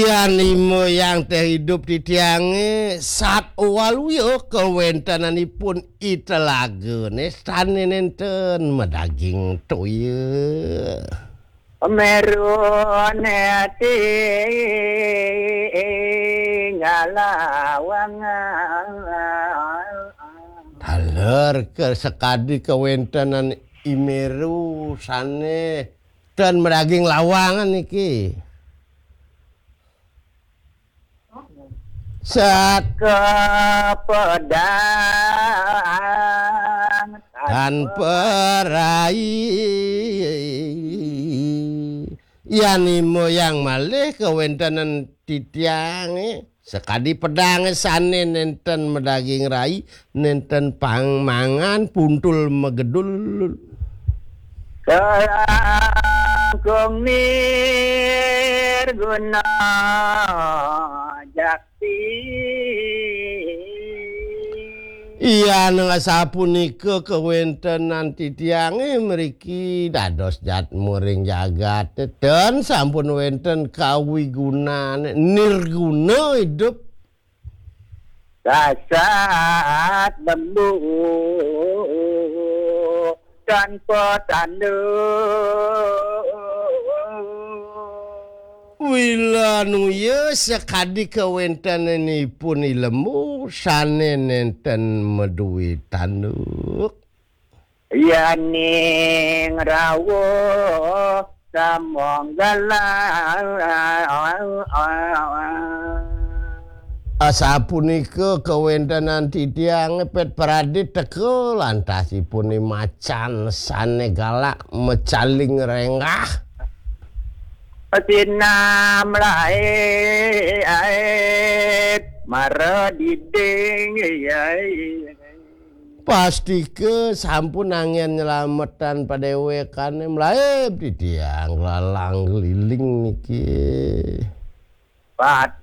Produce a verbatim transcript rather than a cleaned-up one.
Yan imo yang teh idup titiange sat waluya kawentenanipun i telagane sane nenten madaging toya. Merune tinggal lawang. Taler ke sekadi kawentenan i Meru sane ten madaging lawangan niki. Sat ke pedang tanpa rai. Yan imo yang malih kawentenan titiange sakadi pedange sane nenten madaging rai, nenten pangmangan, puntul magedul. Kalangkung nirguna jakti. Yan asapunika kawentenan titiange mriki dados jatmuring jagate ten sampun wenten kawigunane nirguna idup. Kasat lembu tanpa tanduk. Wilanuya sakadi kawentenanipun i lembu sane nenten maduwe tanduk. Yaning rawuh samonggalan. Asapunika kawentenan titiang pet pradit teka lantasipun i macan sane galak mecaling renggah. Sinam lae mara diding. Pastika sampun anggen nyelametan padewekane mlaib titiang lalang liling niki. Pat